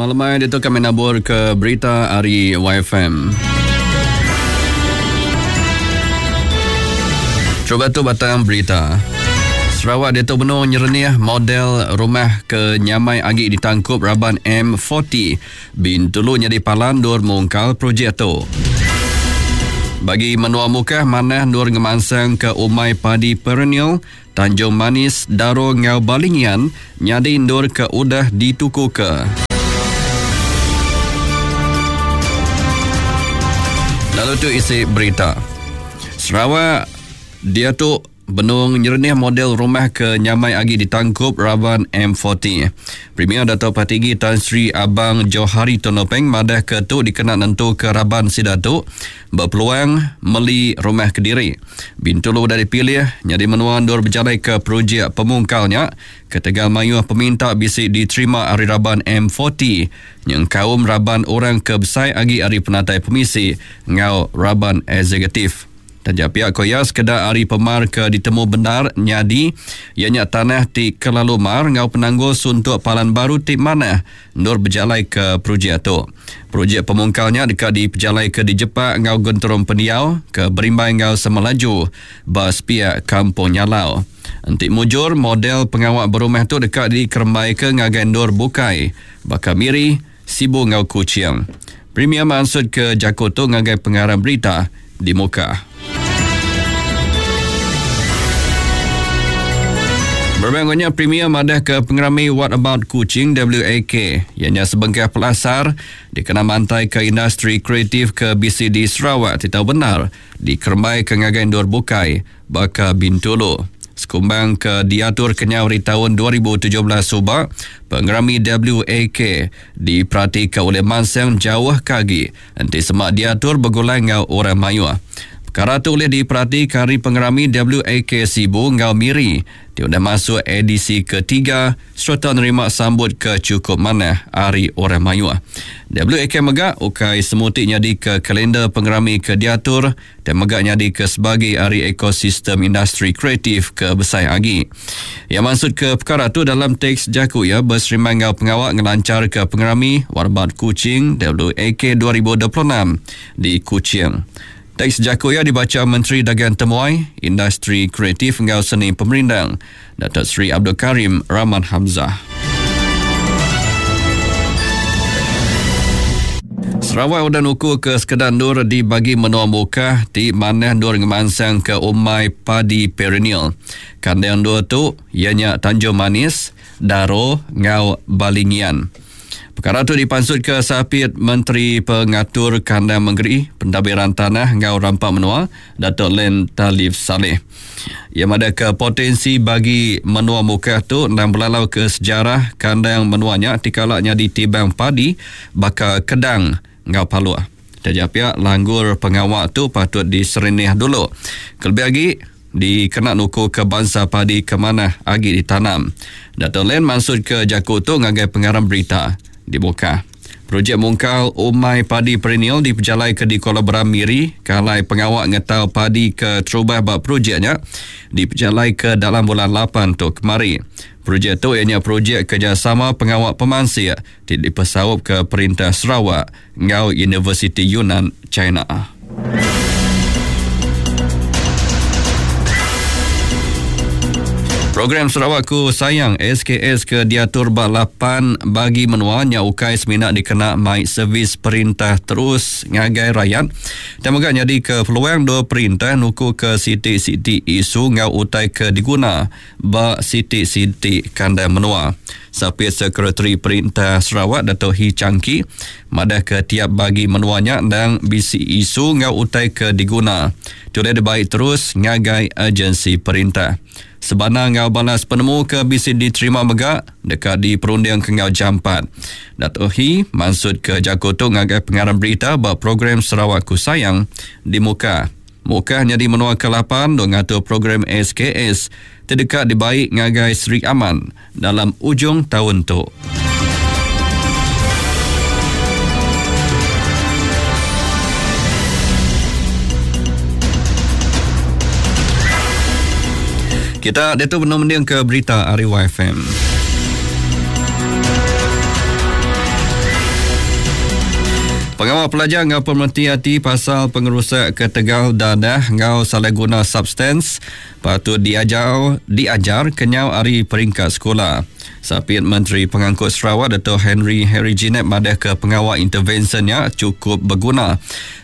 Selamat lemai ditu kami nabur ke berita ari YFM. Cuba tu batang berita. Sarawak diatu benung nyerenih model rumah ke nyamai agi ditangkup raban M40 Bintulu nyadi palan endur mungkal projek tu. Bagi menua Mukah manah endur ngemansangka umai padi perennial Tanjung Manis, Daro enggau Balingian nyadi endur ke udah ditukuka. Lalu tu isi berita. Sarawak diatu benung nyerenih model rumah ke nyamai agi ditangkup raban M40. Premier Datuk Patinggi Tan Sri Abang Johari Tun Openg madahka tu dikena nentuka raban sida tu Bepeluang meli rumah kediri. Bintulu udah dipilih nyadi menua endur bejalaika projek pemungkal nya ketegal mayuh peminta bisi diterima ari raban M40 nyengkaum raban orang ke besai agi ari penatai pemisi enggau raban eksekutif. Taja pia ku iya sekeda ari pemar ke ditemu bendar nyadi iya nya tanah ti kelalu mar enggau penanggul suntuk palan baru ti manah endur bejalaika projek tu. Projek pemungkal nya deka dipejalaika di Jepak enggau Genturung Pendiau ke berimbai enggau Semelaju ba sepiak Kampung Nyalau. Enti mujur, model pengawa berumah tu deka dikerembaika ngagai endur bukai baka Miri, Sibu enggau Kuching. Premier mansutka jaku tu ngagai pengarang berita di Mukah. Berebak enggau nya, Premier madahka pengerami What About Kuching, WAK, iya nya sebengkah pelasar dikena mantaika industri kreatif ke bisi di Sarawak ti tau bendar dikerembaika ngagai endur bukai baka Bintulu. Sekumbang ke diatur kenyau ari taun 2017 suba, pengerami WAK diperatika ulih mansang jauh ke agi Enti sema diatur begulai enggau orang mayuh. Pekara tu ulih diperatika ari pengerami WAK Sibu enggau Miri ti udah masuk edisi ketiga sereta nerima sambut ke chukup manah ari orang mayuh. WAK mega ukai semuti nyadika kalendar pengerami ke diatur Ti mega nyadika sebagi ari ekosistem industri kreatif ke besai agi. Iya mansutka pekara tu dalam teks jaku iya beserimbai enggau pengawa ngelancharka pengerami Warbat Kuching WAK 2026 di Kuching. Teks jaku iya dibacha Menteri Dagang Temuai, Industri Kreatif enggau Seni Pemerindang, Datuk Seri Abdul Karim Rahman Hamzah. Sarawak udah nuku ke sekeda endur di bagi menua Mukah ti manah endur ngemansangka umai padi perennial. Kandang endur tu iya nya Tanjung Manis, Daro enggau Balingian. Pekara tu dipansutka Sapit Menteri Pengatur Kandang Mengeri, Pentadbiran Tanah enggau Rampa Menua, Datuk Len Talif Salleh. Iya madahka potensi bagi menua Mukah tu endang belalauka sejarah kandang menua nya ti kala nyadi tibang padi baka Kedang enggau Paloh. Taja pia, langgur pengawa tu patut diserenih dulu kelebih agi dikena nukuka bansa padi ke manah agi ditanam. Datuk Len mansutka jaku tu ngagai pengarang berita di Mukah. Projek mungkal umai padi perennial dipejalaika di Kuala Beram, Miri ke alai pengawa ngetau padi ke terubah ba projek nya dipejalaika dalam bulan lapan tu kemari. Projek tu iya nya projek kerejasama pengawa pemansik ti dipesaupka Perintah Sarawak enggau Universiti Yunnan, China. Program Sarawakku Sayang SKS ke diatur ba lapan bagi menua nya ukai semina dikena mai servis perintah terus ngagai rayat tang mega nyadika peluang dua perintah nukuka siti-siti isu enggau utai ke diguna ba siti-siti kandang menua. Sapit Sekretari Perintah Sarawak Dato Hii Chang Kee madahka tiap bagi menua nya endang bisi isu enggau utai ke diguna ti ulih dibai terus ngagai agensi perintah. Sebana enggau balas penemu ke bisi diterima mega deka diperundingka enggau jampat. Dato Hii mansutka jaku tu ngagai pengarang berita ba program Sarawakku Sayang di Mukah. Mukah nyadi menua ke-lapan endur ngatur program SKS ti deka dibai ngagai Sri Aman dalam ujung taun tu. Kita diatu benung mendingka berita ari YFM. Pengawa pelajar enggau pemereti ati pasal pengerusak ketegal dadah enggau salah guna substans patut diajar diajar kenyau ari peringkat sekula. Sapit Menteri Pengangkut Sarawak Dato Henry Harry Jinep madahka pengawa intervensyen nya chukup beguna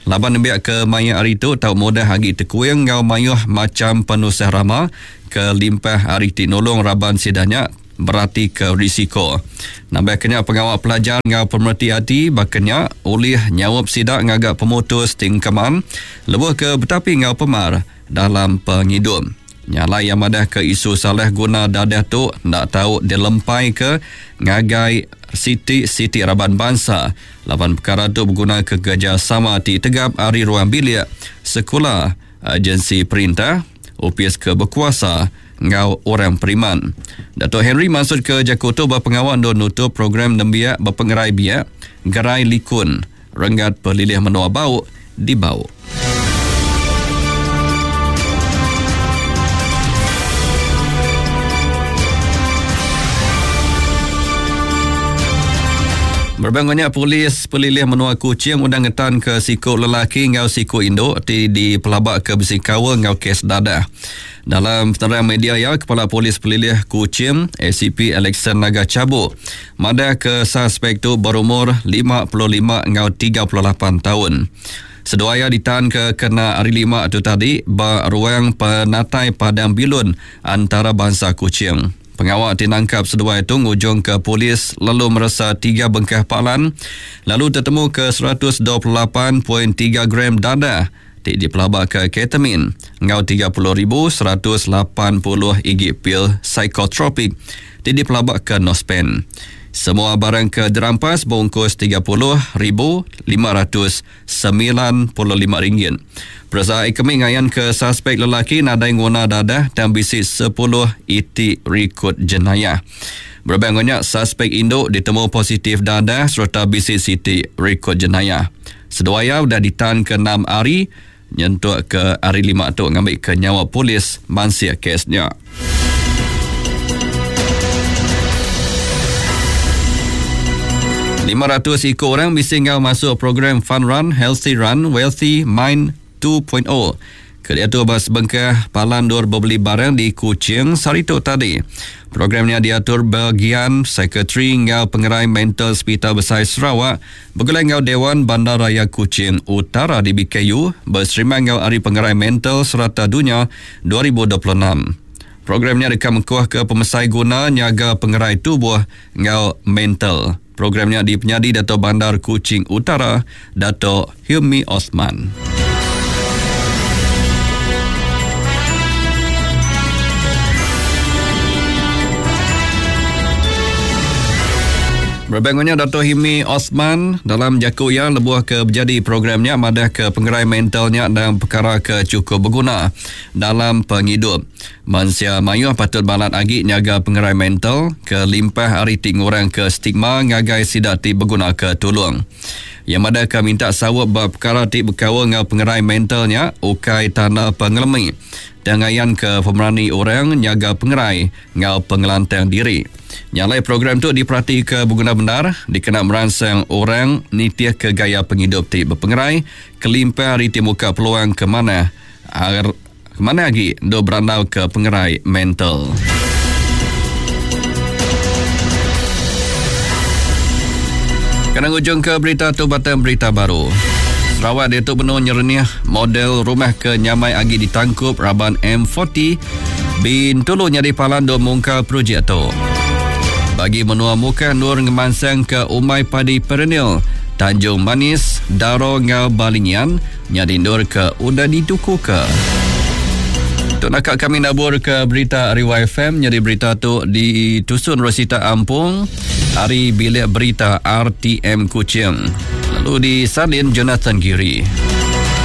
laban nembiak ke maya hari tu tau mudah agi tekuing enggau mayuh macham penusah rama ke limpah ari ti nulung raban sida nya beratika risiko. Nambahka nya pengawa pelajar enggau pemereti ati baka nya ulih nyaup sida ngaga pemutus ti engkeman lebuh ke betapi enggau pemar dalam pengidup. Nya alai iya madahka isu salah guna dadah tu enda tau dilempaika ngagai siti-siti raban bansa laban pekara tu begunaka kerejasama ti tegap ari ruang bilik, sekula, agensi perintah, opis ke bekuasa enggau orang periman. Datuk Henry mansutka jaku tu ba pengawa endur nutup program nembiak bepengerai biak Gerai Likun Renggat Pelilih Menua Bau di Bau. Berebak nya polis pelilih menua Kuching udah ngetanka siku lelaki enggau siku indu ti dipelabaka bisi kaul enggau kes dadah. Dalam penerang media iya, Kepala Polis Pelilih Kuching, ACP Alexson Naga Chabuk madahka suspek tu berumur 55 enggau 38 taun. Seduai iya ditanka kena Hari Lima tu tadi ba ruang penatai Padang Bilun Antarabangsa Kuching. Pengawa ti nangkap seduai tu ngujungka polis lalu meresa tiga bengkah palan lalu tetemuka 128.3 gram dadah ti dipelabaka ketamin enggau 30,180 igi pil psikotropik ti dipelabaka Nospen. Semua barang ke dirampas beungkus RM30,595 ringgit. Peresa ekomi ngayanka suspek lelaki nadai nguna dadah tang bisi sepuluh iti rikod jenayah. Berebak enggau nya, suspek indu ditemu positif dadah sereta bisi siti rikod jenayah. Seduai iya udah ditanka enam hari nyentuk ke hari Lima tu ngambika nyawa polis mansik kes nya. 500 iku orang bisi enggau masuk program Fun Run, Healthy Run, Wealthy Mind 2.0 ke diatur ba sebengkah palan endur bebeli barang di Kuching sehari tu tadi. Program nya diatur Bagian Sekretari enggau Pengerai Mental Sepital Besai Sarawak begulai enggau Dewan Bandaraya Kuching Utara DBKU beserimbai enggau Hari Pengerai Mental Serata Dunya 2026. Program nya deka mekuhka pemesai guna nyaga pengerai tubuh enggau mental. Program nya dipenyadi Dato Bandar Kuching Utara, Dato Hilmi Osman. Berebak nya Dato Hilmi Osman dalam jaku iya lebuh ke bejadi program nya madah ke pengerai mental nya endang pekara ke chukup beguna dalam pengidup. Mensia mayuh patut balat agi nyaga pengerai mental kelimpah ari ti ngurangka stigma ngagai sida ti begunaka tulung. Iya madahka minta saup ba pekara ti bekaul enggau pengerai mental nya ukai tanda pengelemi tang ngayanka pemerani orang nyaga pengerai enggau pengelantang diri. Nya alai program tu diperatika beguna bendar dikena meransang orang nitihka gaya pengidup ti bepengerai kelimpah ari ti muka peluang ke manah Manah agi endur berandauka pengerai mental. Kena ngujungka berita tu batang berita baru. Sarawak diatu benung nyerenih model rumah ke nyamai agi ditangkup raban M40 Bintulu nyadi palan endur mungkal projek tu. Bagi menua Mukah endur ngemansangka umai padi perennial Tanjung Manis, Daro enggau Balingian Nyadi endur ke udah ditukuka. Tu naka kami nabur ke berita ari YFM nyadi berita tu ditusun Rosita Ampung ari bilik berita RTM Kuching lalu disalin Jonathan Giri.